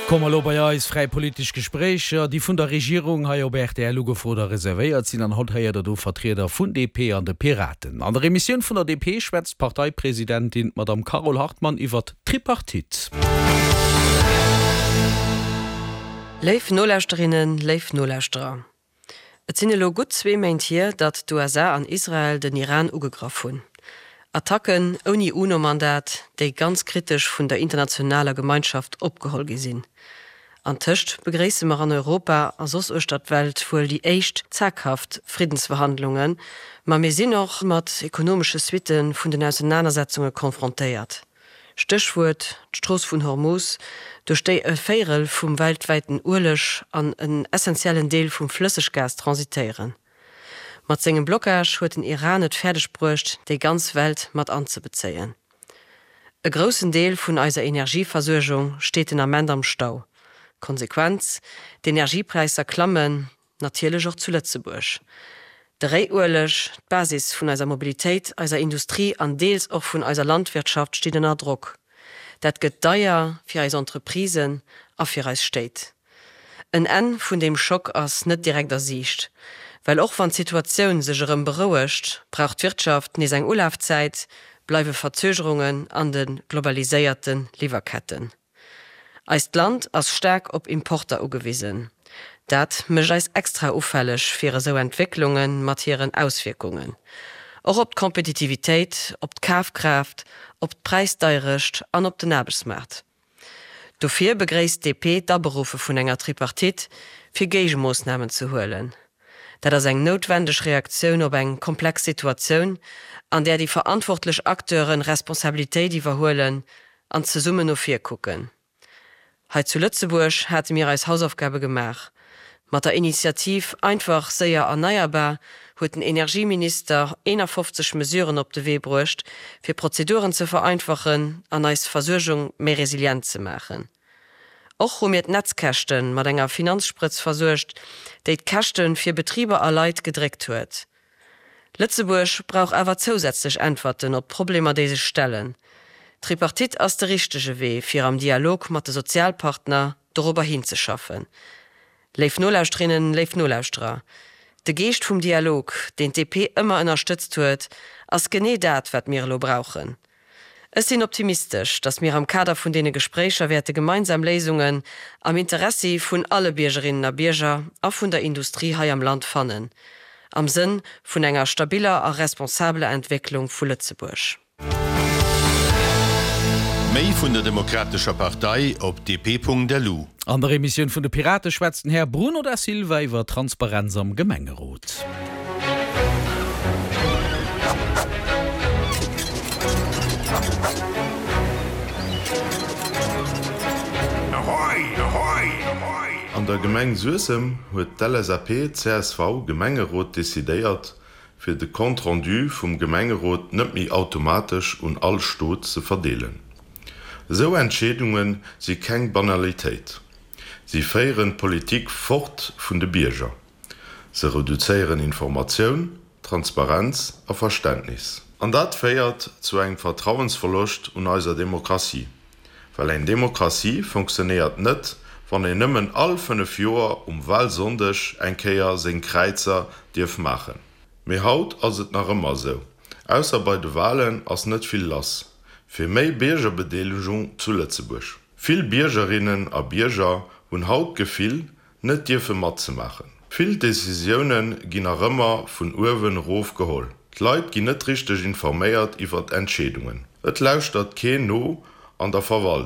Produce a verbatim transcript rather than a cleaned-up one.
Komme lo bei eis fräi politesch Gespréicher, déi vun der Regierung hei op R T L ugefrot a reservéiert sinn. An haut héiert der do Vertrieder vun D P an de Piraten. An der Emissioun vun der D P schwätzt d'Parteipresidentin Madame Carole Hartmann iwwer Tripartite. Léif Nolauschterinnen, léif Nolauschterer. Et sinn elo gutt zwee Méint hier, datt d'U S A an Israel den Iran ugegraff hunn. Attacken ouni UNO-Mandat, déi ganz kritesch vun der internationaler Gemeinschaft opgeholl gi sinn. Antëscht begréisse mer an Europa a soss uechter d'Welt wuel déi éischt zaghaft Friddensverhandlungen, ma mir sinn och mat ekonomesche Suitte vun den Ausenanersetzunge konfrontéiert. Stéchwuert d'Strooss vun Hormus, duerch déi e Véierel vum weltwäiten Ueleg an en essentiellen Deel vum Flësseggas transitéieren. Mat sengem Blockage huet den Iran et fäerdeg bruecht, déi ganz Welt mat anzebezéien. E groussen Deel vun eiser Energieversuergung steet den Ament am Stau. Konsequenz: D'Energiepräisser klammen, natierlech och zu Lëtzebuerg. De Réiueleg, d'Basis vun eiser Mobilitéit, eiser Industrie an deels och vun eiser Landwirtschaft steet ënner Drock. Dat gëtt deier fir eis Entreprisen a fir eis Stéit. En Enn vun deem Schock ass net direkt a Siicht. Well och wann d'Situatioun sech erëm berouegt, brauch d'Wirtschaft nees eng Ulafzäit, bleiwe Verzögerungen an de globaliséierte Liwwerketten. Eist Land ass staark op Importer ugewisen. Dat mécht eis extra ufälleg fir esou Entwécklunge mat hiren Auswierkungen. Och op d'Kompetitivitéit, op d'Kafkraaft, op d'Präisdeierecht an op den Aarbechtsmaart. Dofir begréisst d'D P d'Aberuffe vun enger Tripartite fir Géigemoossnamen ze huelen. Dat ass eng noutwendeg Reaktioun op eng komplex Situatioun, an där déi verantwortlech Acteure Responsabilitéit iwwerhuelen an zesummen no vir kucken. Hei zu Lëtzebuerg hate mir eis Hausaufgabe gemaach. Mat der Initiativ Einfach séier erneierbar huet den Energieminister eenafofzeg Mesuren op de Wee bruecht, fir Prozeduren ze vereinfachen an eis Versuergung méi resilient ze maachen. Och hu mir d'Netzkäschte mat enger Finanzsprëtz versuergt, déi d'Käschte fir Betriber a Leit gedréckt huet. Lëtzebuerg brauch awer zousätzlech Äntwerten op d'Problemer, déi sech stellen. D'Tripartite ass de richtege Wee, fir am Dialog mat de Sozialpartner dorobber hinzeschaffen. Léif Nolauschterinnen, léif Nolauschterer, de Geescht vum Dialog, deen d'D P ëmmer ënnerstëtzt huet, ass genee dat, wat mir elo brauchen. Ech sinn optimistesch, datt mir am Kader vun deene Gespréicher wäerte gemeinsam Léisungen am Interessi vun alle Biergerinnen a Bierger a vun der Industrie hei am Land fannen, am Sënn vun enger stabiller a responsabeler Entwécklung vu Lëtzebuerg. Méi vun der Demokratescher Partei op D P Punkt L U. An der Emissioun vun de Pirate schwätzt den Här Bruno da Silva iwwer Transparenz am Gemengerot. An der Gemeng Suessem huet d'L S A P C S V Gemengerot decidéiert, fir de Compte rendu vum Gemengerot net méi automatesch un all Stot ze verdeelen. Esou Entscheedunge si keng Banalitéit. Si féieren d'Politik fort vun de Bierger. Se reduzéieren Informatioun, Transparenz a Verständnis. An dat féiert zu engem Vertrauensverloscht un eiser Demokratie. Well eng Demokratie funktionéiert net, wann een nëmmen all fënnef Joer um Walsonndeg eng Kéier seng Kräizer dierf maachen. Mee haut ass et nach ëmmer esou, ausser bei de Walen ass net vill lass fir méi Biergerbedeelegung zu Lëtzebuerg. Vill Biergerinnen a Bierger hunn haut d'Gefill, net dierfe matzemaachen. Vill Decisioune ginn nach ëmmer vun uewen erof geholl. D'Leit ginn net richteg informéiert iwwer Entscheedungen. Et lauschtert keen no an der Verwaltung.